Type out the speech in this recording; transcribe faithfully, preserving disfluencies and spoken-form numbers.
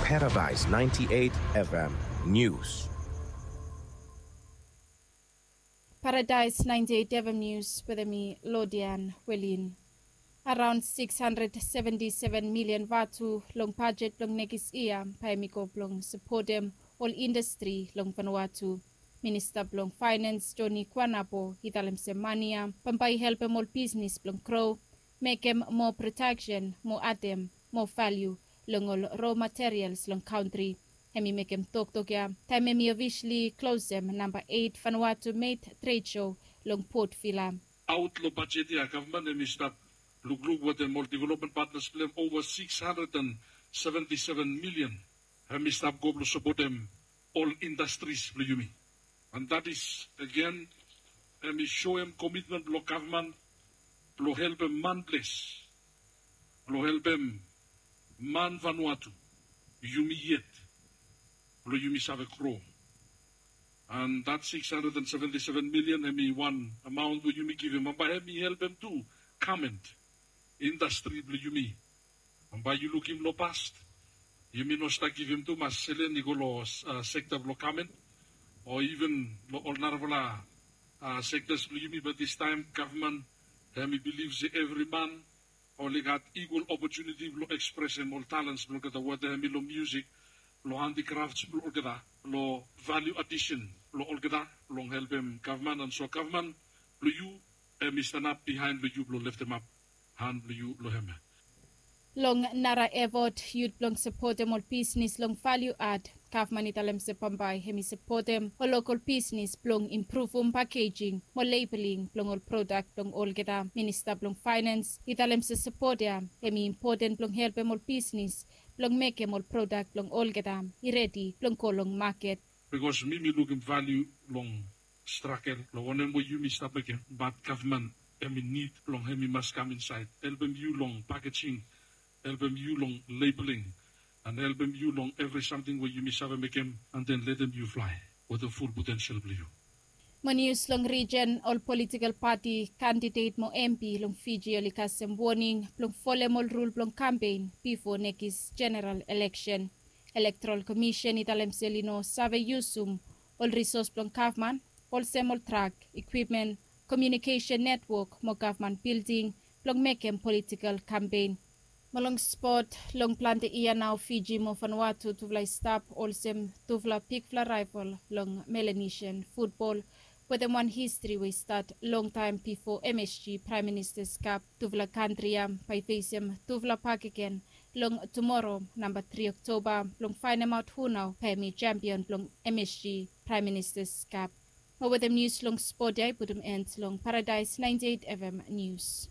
Paradise ninety-eight F M News. Paradise ninety-eight F M News wetem mi Lodian Welin. Araon six hundred seventy-seven million vatu long bajet blong nekis yia bae hemi go blong sapotem ol indastri long Vanuatu. Minista blong Faenans Joni Kuanapo i talem se mane ya bambae i helpem ol bisnis blong gro, mekem moa prodaksen, mo adem moa valiu long ol ro materials long kantri. Hemi mekem toktok ya taem hemi ofisali klosem namba eit Vanuatu Made Trade Show long Port Vila. Aot long bajet ya gavman hemi stap lukluk wetem ol development partners blong hem ova six hundred and seventy-seven million. Hemi stap go blong sapotem ol indastris blong yumi. And that is again hemi soem komitmen blong gavman blong helpem man ples, blong helpem man Vanuatu, yumi yet blong yumi save gro. And that six hundred and seventy-seven million hemi wan amaon we yumi givim, bambae hemi helpem tu gament indastri blong yumi. Bambae yu lukim long past, yumi no stap givim tumas selen i go long sekta blong gament o iven long ol narafala sektas blong yumi. Be distaem gavman hemi bilif se evri man oli gat ikwal opotuniti blong ekspresem ol talens blong olgeta, weta hemi long miusik, long handikrafts blong olgeta, long valiu adisen blong olgeta, blong helpem gavman. And so gavman blong yu hemi stanap biaen blong yu blong leftemap han blong yu long hem ya. Long nara efot yut blong sapotem ol bisnis long valiu ad, gavman i talem se bambae hemi sapotem ol lokol bisnis blong impruvum pakejing mo lebeling blong ol prodak blong olgeta. Minista blong Faenans i talem se sapot ya hemi impoten blong helpem ol bisnis blong mekem ol prodak blong olgeta i redi blong go long maket. Bikos mi mi lukim valiu long stragel long wanem we yumi stap mekem, bat gavman hemi nid blong hemi mas kam insaed, helpem yu long pakejing, helpem yu long lebeling, and helpem yu long evri samting we yumi save mekem, and then letem yu flae wetem ful potensel blong yu. Mo nius long rijen, ol politikol pati, kandidet mo M P long Fiji oli kasem woning blong folem ol rul blong kampen bifo nekis jeneral eleksen. Elektorol Komisen i talem se oli no save yusum ol risos blong gavman olsem ol trak, ikwipmen, komiunikesen netwok mo gavman bilding blong mekem politikol kampen. Mo long spot, long plante yia nao Fiji mo Vanuatu tufala i stap olsem tufala bigfala raeval long Melanesian futbol wetem wan histri we i stat longtaem bifo M S G Praem Ministas Kap. Tufala kantri ya bae i fesem tufala bakegen long tumoro namba tri Oktoba blong faenemaot hu nao bae hemi sempion blong M S G Praem Ministas Kap. Mo wetem nius long spot ya i putum en long Paradaes naenti eit F M nius.